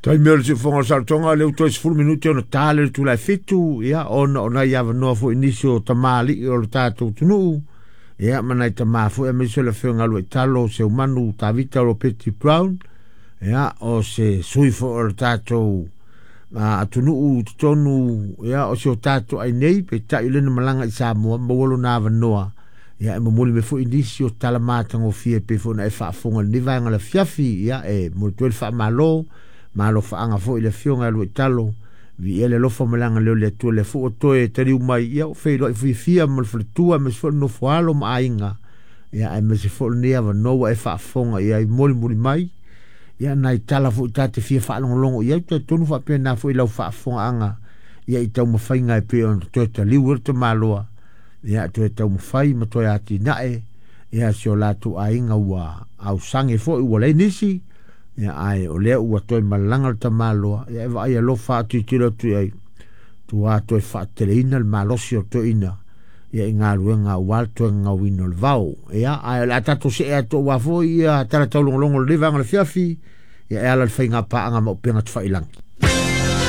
Taimi o le siufofoga o le saolotoga, o lea ua toe 10 minute ona ta lea i le itula e 7, ia, ona o nai avanoa foi i nisi o tamalii o le tatou atunuu, ia, ma nai tama foi, aemaise o le Afioga ia Luaitalo Seumanu Tavita Ropeti Brown, ia, o se sui foi o le tatou atunuu i totonu, ia, o si o tatou ainei, peitai o lea na malaga i Samoa, maua lona avanoa, ia, e momoli mai foi nisi o tala matagofie pei foi ona e faafofoga i lenei vaega o le afiafi, ia, e momoli atu ai le faamalo, malofaaga foi i le Afioga ia Luaitalo, viia le alofa ma le agalelei o le Atua, lea foi ua toe taliu mai, ia, ua feiloai fiafia ma le faletua, aemaise foi le nofoalo ma aiga, ia, aemaise foi lenei avanoa ua e faafofoga i ai, molimoli mai, ia, nai tala foi ta te fia faalogologo i ai, talitonu faapena foi i lau faafofogaaga, ia, i taumafaiga e pei ona toe taliu ai le tamaloa, ia, toe taumafai ma toe atinae, ia, si o latou aiga ua ausage foi ua leai nisi, ia, ae o lea ua toe malaga le tamaloa, ia, e vaai alofa atu i tilo atu i ai, tua toe faateleina le malosi o toeaina, ia, i galuega aua le toe gagauina o le vao. Ia, ae o le a tatou see atu aua foi ia tala taulogologo o lenei vaega o le afiafi, ia, e ala i le faiga paaga ma upega tafailagi.